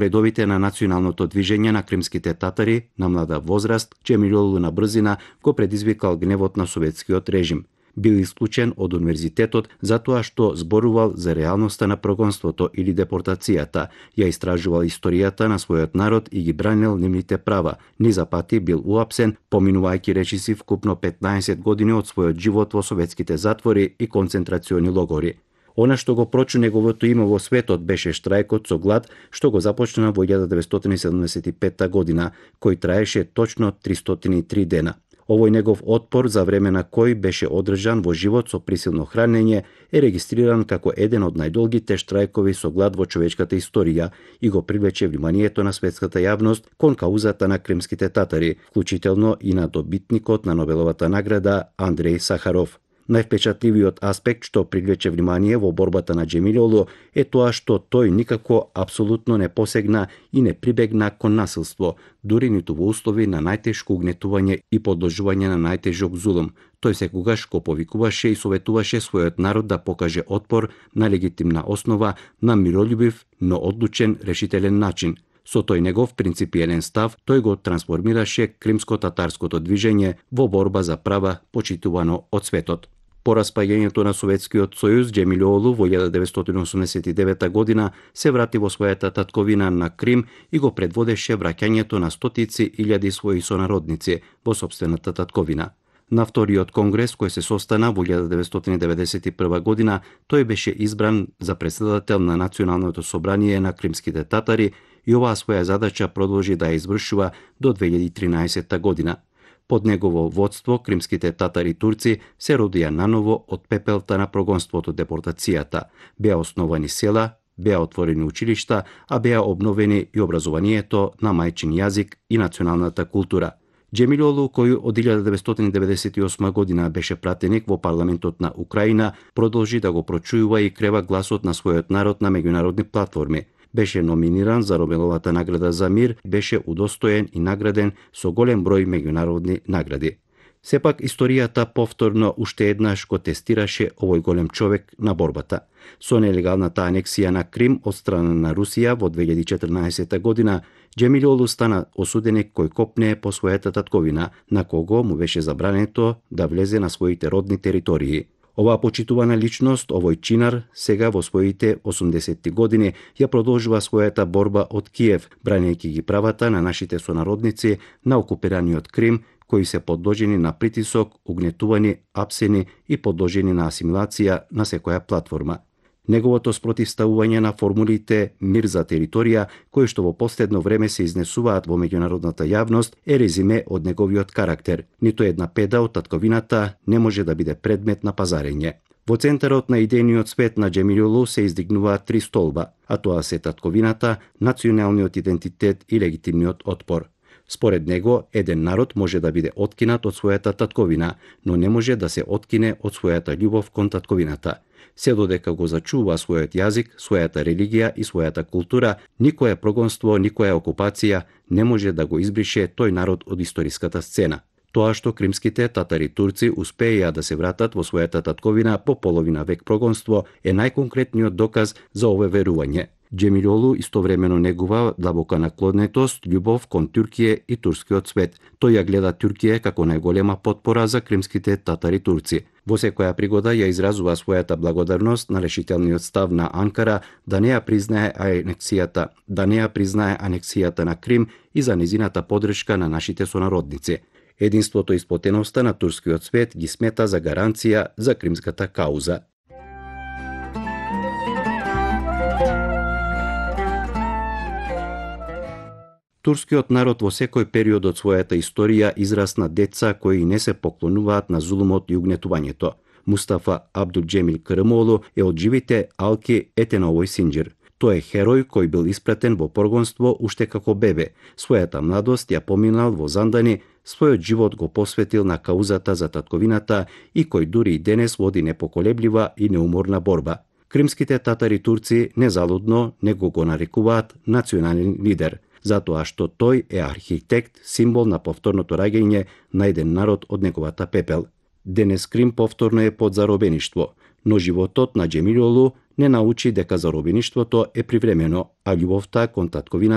редовите на националното движење на кримските татари на млада возраст, Џемилиолу на брзина го предизвикал гневот на советскиот режим. Бил исклучен од универзитетот затоа што зборувал за реалноста на прогонството или депортацијата, ја истражувал историјата на својот народ и ги бранил нивните права. Низа пати бил уапсен, поминувајќи речиси вкупно 15 години од својот живот во советските затвори и концентрациони логори. Она што го прочу неговото име во светот беше штрајкот со глад што го започна во 1975 година, кој траеше точно 303 дена. Овој негов отпор, за време на кој беше одржан во живот со присилно хранење, е регистриран како еден од најдолгите штрајкови со глад во човечката историја и го привлече вниманието на светската јавност кон каузата на кримските татари, вклучително и на добитникот на Нобеловата награда Андреј Сахаров. Највпечатливиот аспект што привлече внимание во борбата на Џемилиолу е тоа што тој никако апсолутно не посегна и не прибегна кон насилство, дури ниту во услови на најтешко угнетување и подложување на најтежок зулум. Тој секогаш го повикуваше и советуваше својот народ да покаже отпор на легитимна основа, на миролюбив, но одлучен, решителен начин. Со тој негов принципиелен став, тој го трансформираше кримско-татарското движење во борба за права почитувано од светот. По распаѓањето на Советскиот сојуз, Џемилиолу во 1989 година се врати во својата татковина на Крим и го предводеше враќањето на стотици илјади своји сонародници во сопствената татковина. На вториот конгрес кој се состана во 1991 година, тој беше избран за претседател на Националното собрание на кримските татари и оваа своја задача продолжи да ја извршува до 2013 година. Под негово водство, кримските татари турци се родија наново од пепелта на прогонството, депортацијата. Беа основани села, беа отворени училишта, а беа обновени и образованието на мајчин јазик и националната култура. Џемилиолу, кој од 1998 година беше пратеник во парламентот на Украина, продолжи да го прочујува и крева гласот на својот народ на меѓународни платформи. Беше номиниран за Нобеловата награда за мир, беше удостоен и награден со голем број меѓународни награди. Сепак, историјата повторно уште еднаш го тестираше овој голем човек на борбата. Со нелегалната анексија на Крим од страна на Русија во 2014 година, Џемилиолу стана осуденик кој копне по својата татковина, на кого му беше забрането да влезе на своите родни територии. Оваа почитувана личност, овој чинар, сега во своите 80 години ја продолжува својата борба од Киев, бранејќи ги правата на нашите сонародници на окупираниот Крим, кои се подложени на притисок, угнетувани, апсени и подложени на асимилација на секоја платформа. Неговото спротивставување на формулите мир за територија, кои што во последно време се изнесуваат во меѓународната јавност, е резиме од неговиот карактер. Ниту една педа од татковината не може да биде предмет на пазарење. Во центарот на идејниот свет на Џемилиолу се издигнуваат три столба, а тоа се татковината, националниот идентитет и легитимниот отпор. Според него, еден народ може да биде откинат од својата татковина, но не може да се откине од својата љубов кон татковината. Се додека го зачува својот јазик, својата религија и својата култура, никое прогонство, никоја окупација не може да го избрише тој народ од историската сцена. Тоа што кримските татари турци успеја да се вратат во својата татковина по половина век прогонство е најконкретниот доказ за овое верување. Џемилиолу истовремено негува длабока наклонетост, љубов кон Туркија и турскиот свет. Тој ја гледа Туркија како најголема потпора за кримските татари турци. Во секоја пригода ја изразува својата благодарност на решителниот став на Анкара да не ја признае анексијата на Крим и за незината поддршка на нашите сонародници. Единството и сплотеноста на турскиот свет ги смета за гаранција за кримската кауза. Турскиот народ во секој период од својата историја израсна деца кои не се поклонуваат на зулумот и угнетувањето. Мустафа Абдулџемил Кырымоолу е од живите алки ете на овој синџир. Тој е херој кој бил испратен во прогонство уште како бебе. Својата младост ја поминал во Зандани, својот живот го посветил на каузата за татковината и кој дури и денес води непоколеблива и неуморна борба. Кримските татари турци незалудно него го нарекуваат национален лидер, затоа што тој е архитект, символ на повторното раѓање на еден народ од неговата пепел. Денес Крим повторно е под заробеништво, но животот на Џемилиолу не научи дека заробеништвото е привремено, а љубовта кон татковина